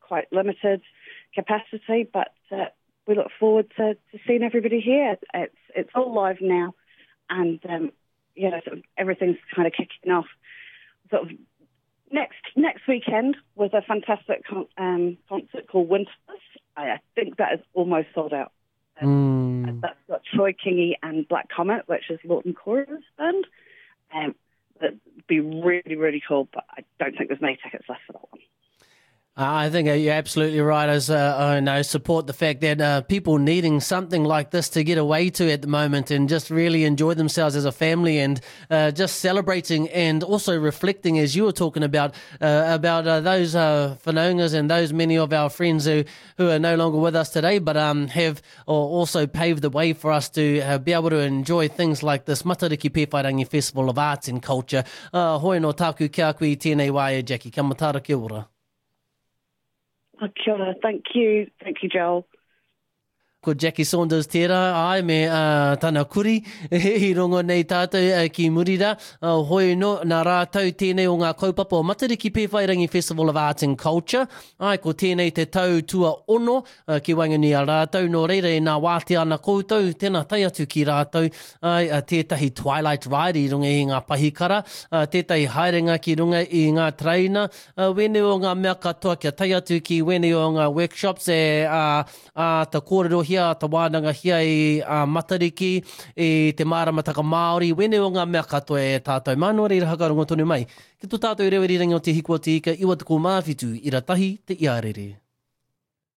quite limited capacity, but uh, we look forward to, to seeing everybody here. It's, it's all live now, and um, you know, sort of everything's kind of kicking off. Sort of next next weekend with a fantastic con- um, concert called Winters. I think that is almost sold out. Um, mm. That's got Troy Kingi and Black Comet, which is Laughton Kora's band. Um, that'd be really, really cool, but I don't think there's many tickets left for that one. I think you're absolutely right. As uh, I know, support the fact that uh, people needing something like this to get away to at the moment and just really enjoy themselves as a family and uh, just celebrating and also reflecting, as you were talking about, uh, about uh, those uh, whanaungas and those many of our friends who, who are no longer with us today, but um, have also paved the way for us to uh, be able to enjoy things like this Matariki Pēwhairangi Festival of Arts and Culture. Uh, hoi no tāku kia koe i tēnei wā e Jackie. Kia matara, kia ora. Oh, kia ora. Thank you. Thank you, Joel. Ko Jackie Saunders tērā, ai, me uh, tana kuri i rongo nei tātou uh, ki muri rā. Uh, hoi no, nā rātou tēnei o ngā kaupapa o Matariki Pēwhairangi Festival of Arts and Culture. Ai, ko tēnei te tau tua ono uh, ki waenganui a rātou. Nō reira e nā wātea ana koutou, tēnā tae atu ki rātou. Ai, uh, tētahi Twilight Ride i runga i ngā pahikara, uh, tētahi haerenga ki runga i ngā traina, uh, wēnei o ngā mea katoa kia tae atu ki wēnei o ngā workshops e uh, āta kōrerohia, āta wānangahia i a Matariki, i te māramataka Māori, wēnei o ngā mea katoa e tātou mā, nō reira hakarongo tonu mai ki tō tātou reo irirangi o Te Hiku o Te Ika 97 ira tahi te iarere.